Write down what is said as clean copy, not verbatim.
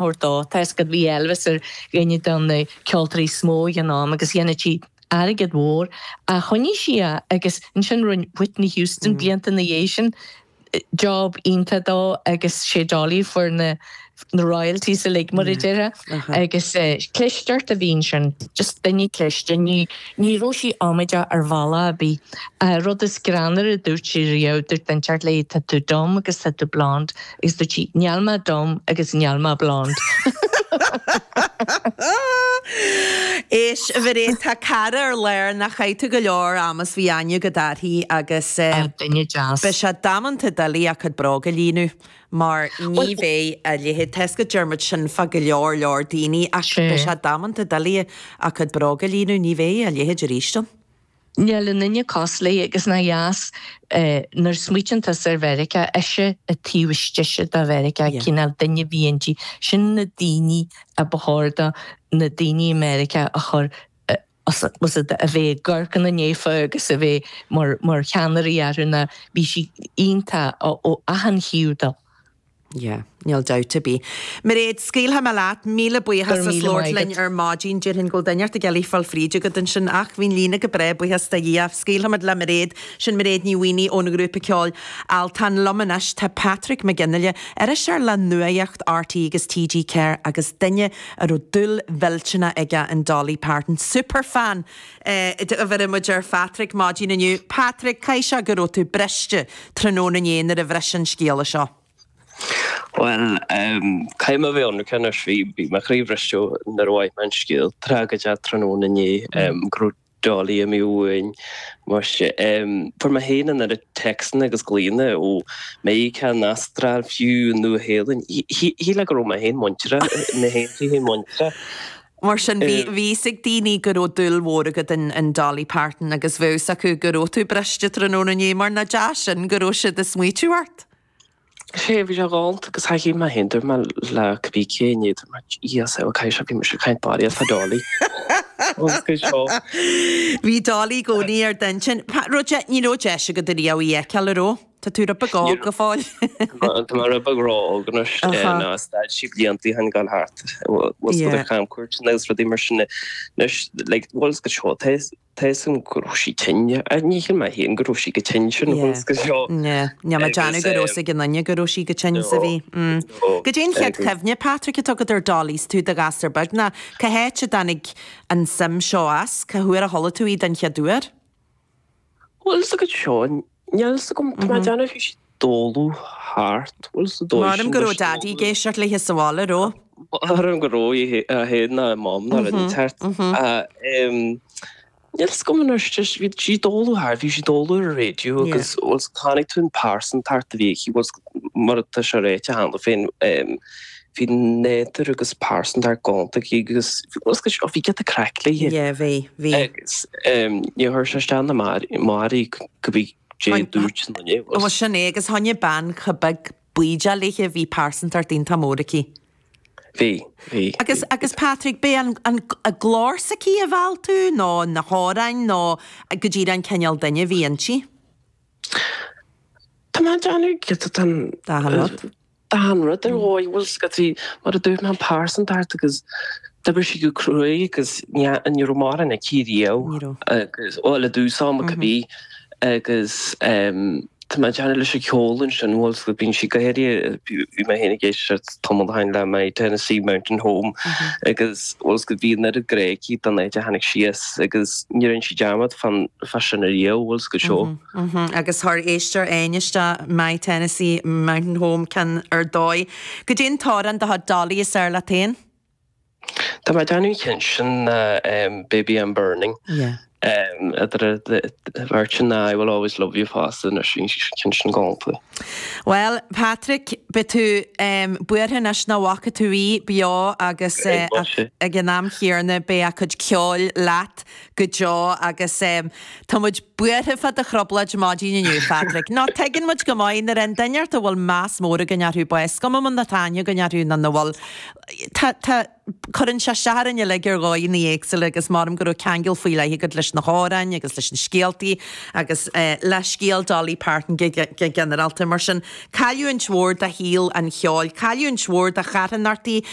thabhairt dó. Tá 'fhios agat bhí Elvis ar dhuine de na ceoltóirí is mó ag an am agus dhéanadh sí airgead mhór ach choinnigh sí é agus ansin rinne Whitney Houston blianta ina dhiaidh sin job iontach dó agus sé Dolly a fuair na na royalties uilig mar a déarfá agus clisteacht a bhí ansin, just duine cliste, ní ní raibh sí amaideach ar bhealach ar bith. Rud is greannmhaire a dúirt sí riamh, dúirt duine inteacht léi tá tú dumb agus tá tú blonde agus dúirt sí níl mé dumb agus níl mé blonde. Éist, a Mhairéad, tá cara ar lár nach chaith tú go leor ama 's bhí aithne agat uirthi agus Duine deas. beidh sé damanta doiligh a cuid bróg a líonadh mar ní bheidh a leithéid, tá 'fhios agat deir muid sin fá go leor leor daoine ach beidh sé damanta doiligh a cuid bróg a líonadh, ní bheidh a leithéid arís ann. Níl aon duine cosúil léi agus nach dheas nuair a smaoitíonn tusa ar Mheiriceá, ise an taobh istigh de Mheiriceá, cineál duine a bhí inti. Sin na daoine a ba chóir do na daoine i Meiriceá a chur a bheith ag amharc ina ndiaidh agus a bheith mar cheannairí orthu ná bhí sí iontach ó achan thaobh de. Yeah, níl dabht ar bith. Mairéad, scaoilfidh mé leat, míle buíochas as labhairt linn ar maidin. Déarfainn go bhfuil duine inteacht ag iarraidh fáil fríd agat ansin ach bhí an líne go breá, buíochas do Dhia. Scaoilfimid le Mairéad, sin Mairéad Ní Mhaonaigh ón ghrúpa ceoil Altan. Liom anois tá Patrick Mac Fhionnghaile, iriseoir le Nuacht RTÉ agus TG4 agus duine a raibh dúil mhillteanach aige in Dolly Parton, superfan a bheireann muid ar Phatrick maidin inniu. Patrick, caithfidh sé go raibh tú briste tráthnóna inné nuair a bhris an scéala seo. Bhuel, caithfidh mé a bheith ionraic anois, bhí mo chroí bhriste nuair a mhaith mé an scéal tragóideach tráthnóna inné go raibh Dolly imithe uainn. Muise, fuair mé féin an oiread téacsanna agus glaonna ó Meiriceá, an Astráil, fiú an Nua-Shéalainn. Shílfeá go raibh mé féin muinteartha, mé féin féin muinteartha. Mar sin, bhí fhios ag daoine go raibh dúil mhór agat in Dolly Parton agus bheadh fhios acu go raibh tú briste tráthnóna inné, mar nach deas sin go raibh siad ag smaoitiú ort. Sea, bhí sé galánta agus thaithin mé féin, dúirt mé le cibé cé inné, dúirt mé, Jesus, ó caithfidh sé, bhí mise ag caint barraíocht fá Dolly. Agus go seo. Bhí Dolly i gcónaí ar d'intinn. Ní raibh deis agat ariamh í a fheiceáil, an raibh? Tá tú rud beag óg go fóill. Tá mé rud beag ró-óg anois ná stad sí blianta ó shin ag dul thart. Bhfuil 's agat ar chamcuairteanna agus rudaí mar sin anois like bhfuil 's agat seo tá 'fhios agam go raibh sí tinn. Ní shíl mé féin go raibh sí chomh tinn sin bhfuil 's agat seo. Níl mé ag déanamh go raibh 's ag aon duine go raibh sí chomh tinn is a bhí. Goidé an chéad chuimhne, Patrick, atá agat ar Dolly 's tú i do ghasúr beag ná cá háit a dtáinig an suim seo as? Cá huair a chuala tú í den chéad uair? Bhfuil 's agat seo, níl 's agam, tá mé ag déanamh bhí sí ag dólú thart, bhfuil 's dóigh sin. M'anam go raibh Daddy ag éisteacht léithe sa bhaile, raibh? M'anam go raibh, é féin ná Mom ná rud inteacht. Níl 's agam anois, just bhí sí ag dólú thart, bhí sí ag dólú ar an raidió agus bhfuil 's chonaic tú an pearsantacht a bhí aici, bhfuil 's mar atá sé ráite cheana féin, bhí nádúr agus pearsantacht galánta aici agus bhfuil 's agat, bhí giota craic léi. Yeah, bhí, bhí. Agus níor chuir sé isteach ná amach uirthi cibé cé a dúirt an duine. Bhuel sin é agus choinnigh bean chomh beag baoideach léithe, bhí pearsantacht iontach mór aici. Bhí, bhí. Agus, agus Patrick, b'é an, an, a glór s'aici a mheall tú nó na hamhráin nó go díreach an cineál duine a bhí inti? Tá mé ag déanamh giota den. D'achan rud. D'achan rud ar dhóigh, bhfuil 's agat, bhí, mar a dúirt mé, an pearsantacht agus d'oibrigh sí go cruaidh agus ní ní raibh mórán aici riamh. Ní raibh. Agus, bhuel, i dtús ama cibé agus tá mé ag déanamh leis an cheol ansin, bhfuil 's agat, bíonn sí go háirithe, bhí mé féin ag éisteacht tamall ó shin le My Tennessee Mountain Home agus bhfuil 's agat, bhí an oiread grá aici don áit a tháinig sí as agus ní rinne sí dearmad fán fá sin ariamh, bhfuil 's agat seo. Agus chuir éisteoir éigin isteach My Tennessee Mountain Home ceann ar dóigh. Goidé an t-amhrán de chuid Dolly is fearr leat féin? Tá mé ag déanamh an chinn sin ná Baby I'm Burning. Yeah. Idir an bheirt sin ná I Will Always Love You fosta anois, bhí an ceann sin galánta. Bhuel, Patrick, beidh tú buartha anois nach bhfaca tú í beo agus ag an am chéanna beidh a cuid ceoil leat go deo agus tá muid buartha fá do thrioblóid maidin inniu, Phatrick. Nó tuigeann muid go maith nuair a fhaigheann duine inteacht a bhfuil meas mór againn orthu bás, is cuma má tá aithne againn orthu nó nach bhfuil. Tá, tá. Cuireann sé isteach orainn uilig ar dhóigheanna éagsúla agus measaim go raibh ceangal faoi leith agat leis na hamhráin agus leis na scéaltaí agus le scéal Dolly Parton go ginearálta. Mar sin, cailliúint mhór do shaol an cheoil, cailliúint mhór do charthanachtaí.